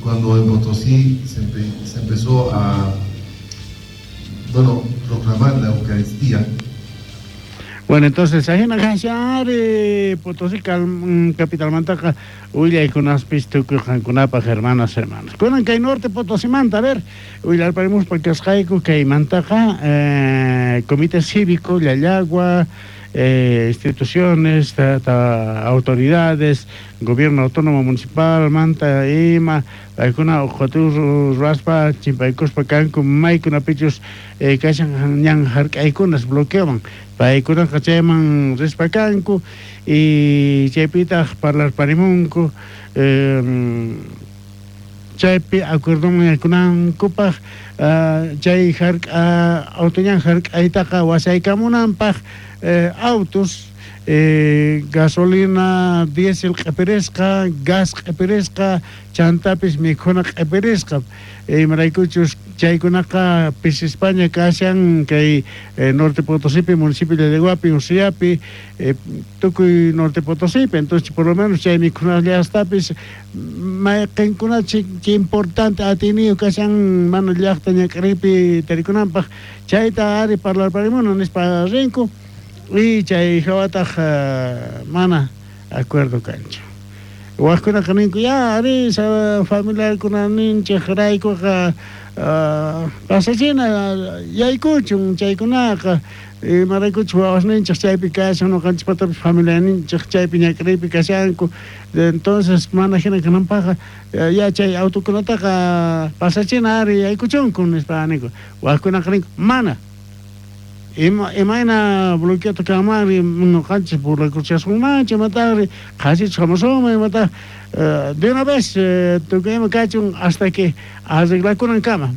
Cuando en Potosí se empezó a, bueno, proclamar la Eucaristía. Bueno, entonces, ajina kashan Potosí capitalmantaqa willaykunaspis tukuy qankunapaq, hermanas, hermanos. Kunan kay Norte Potosimanta, a ver, willarparimuspa kasqayku kaymantaqa Comité Cívico, Llallagua, instituciones, autoridades, gobierno autónomo municipal, manta, ima, paykuna uqhatu ruwaspa, chimpaykuspa kanku, maykunapichus kashan ñan hark'aykunas bloqueoman, paykunaqa chayman rispa kanku, y chaypitaq parlarparimunku, chaypi acuerdoman yaykunankupaq, chay hark'a, autoñan hark'aytaqa wasaykamunanpaq, autos, gasolina, diésel q'ipirisqa, gas q'ipirisqa, chantapis mikhuna q'ipirisqa. Imaraykuchus chaykunaqa pisispaña kashan kay Norte Potosipi, municipio de Llallaguapi, Usiapi, tukuy Norte Potosipi. Entonces, por lo menos chay mikhunallastapis mayqinkunachik chay importante atiniyu kashan mana llaqta ñak'aripi tarikunanpaq, chayta ari parlarparimuna nispa rinku. Y chay hawataq mana acuerdo kanchu. Wajkunaqa ninku, ya, ari, familiarkuna ninchik raykuqa, pasachina yaykuchun chaykunaqa, imaraykuchus wawasninchik chaypi kashan, ñuqanchikpatapis familianinchik chaypi ñak'ariypi kashanku. Entonces, mana hina kananpaqqa, ya chay autokunataqa pasachina ari yaykuchunku nispa ninku. Wajkunaqa ninku, mana. Imayna bloqueota kanmanri, ñuqanchik burlakuchasunmanchu, imataqri qhasichus hamusunman, imataq, de una vez, tukuy ima kachun hasta que arreglakunankama.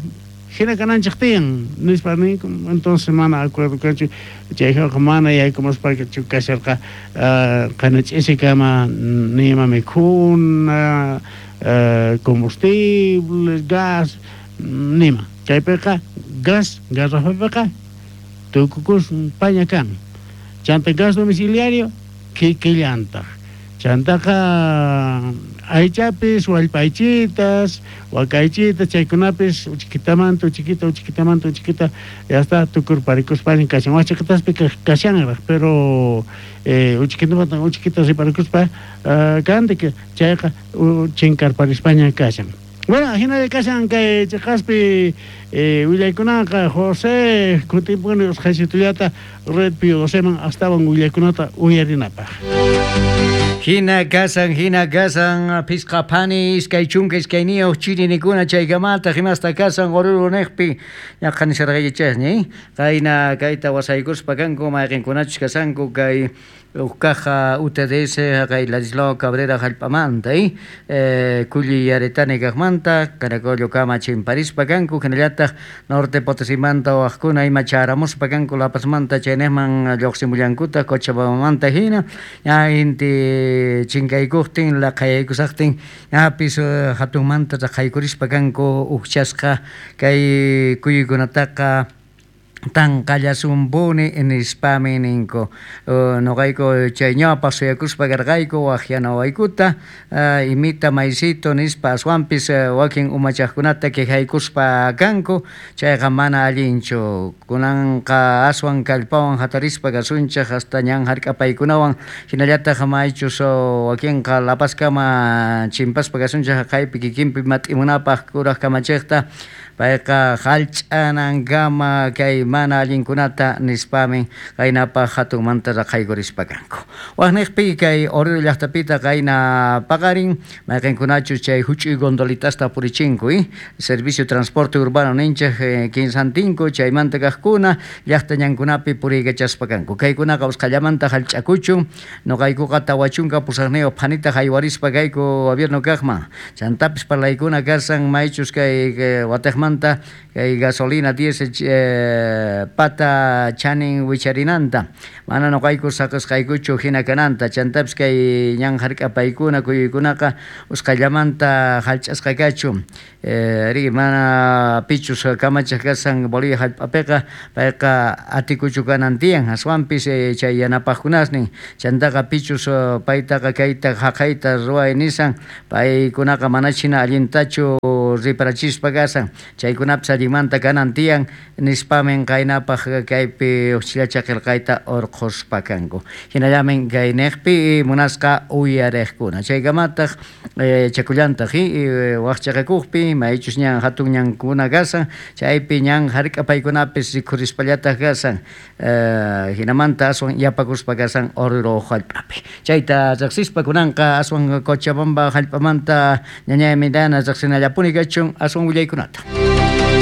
Hina kananchik tiyan, nispa ninku. Entonces mana acuerdo kanchu, chayqa mana yaykumuspachu kasharqa, qana ch'isikama nima mikhuna, combustible, gas, nima. Chaypiqa gas, garrafapiqa tukukus paña kan. Chanta gas domiciliario kikillantaq. Chantaqa aychapis, wallpaychitas, wakaychitas, chaykunapis uchikitamanta, uchiquita, uchikitamanta, uchiquita, ya está, tukurparikuspaña kashan. Wachiqitaspi kashanraq, pero, uchikitamanta, uchiquita riparikuspa, kantik, chayqa, chinkarparispaña kashan. Bueno, hinalla kashan kay chiqaspi, willaykunaqa, José, kutimpuni usqhaysitullata Red Pío Doceman astawan willaykunata uyarinapaq. Hina kasan, phisqa phani, 22 chirinikuna chaykamata, himasta kasan, Oruro neqpi, ñaqa nisharqaykichasña, Qayna kayta wasaykuspa kanku, mayqinkunachus kasanku kay uqkaqa UTDS, kay Ladislao Cabrera hallp'amanta, Kulli Yaretani kaqmanta, Caracollo kama chimparispa kanku, hinallataq Norte Potosimanta waqkuna ima charamuspa kanku La Pazmanta chaynejman lluqsimullankutaq Cochabambamanta hina, ña inti chinkaykuqtin, laqhayaykusaqtin, ñapis hatunmanta raqhaykurispa kanku uqchasqa kay kuyuykunataqa tanqallasumpuni nispami ninku. Noqayku chay ñawpaq suyakuspa karqayku waqyanawaykuta, imita maysito nispa aswanpis wakin umachaqkunata quejaykuspa kanku, chayqa mana allinchu. Kunanqa aswan kallpawan hatarispa kasunchik hasta ñan hark'apaykunawan, hinallataq maychus wakinqa La Pazkama chimpaspa kasunchik haqaypi kikinpi mat'imunapaq kuraq kamachiqta, payqa hallch'anankama kay mana allinkunata nispami qaynapaq hatunmanta raqhaykurispa kanku. Waqniqpi kay Oruro llaqtapita qayna paqarin, mayqinkunachus chay huch'uy gondolitasta purichinku, Servicio Transporte Urbano ninchik, kinsantinko chaymanta kaqkuna llaqta ñankunapi puriykachaspa kanku. Kaykunaqa usqhallamanta hallch'akuchun, nuqaykuqa 48 phanita haywarispa kayku gobierno kaqman. Chantapis parlaykuna kasan maychus kay watiqmanta kay gasolina diésel, Pata chanin wicharinanta, mana noqayku saqesqaykuchu hina kananta, chantapis kay ñan hark'apaykuna kuyuykunaqa usqhayllamanta hallch'asqa kachun. Ari mana pichus kamachej kashan Bolivia hallp'apiqa payqa atikuchu kanan tiyan, aswanpis chay yanapajkunasnin, chantaqa pichus paytaqa kayta haqayta ruway nishan, paykunaqa manachu hina allintachu riparachispa kashan, chaykunapis allinmanta kanan tiyan nispamin qaynapaj kaypi ujchillacha qhelqayta urqhuspa kanku. Hinallamin kay nejpi munasqa uyarejkuna. Chaykamataq chakullantaj wajchaqakujpi maychus ñan hatun ñankuna kashan, chaypi ñan hark'apaykunapis rikhurispallataq kashan, hinamanta aswan yapakuspa kashan Oruro hallp'api. Chayta riqsispa kunanqa aswan Cochabamba hallp'amanta ñañay Midana riqsinallapuni kachun aswan willaykunata.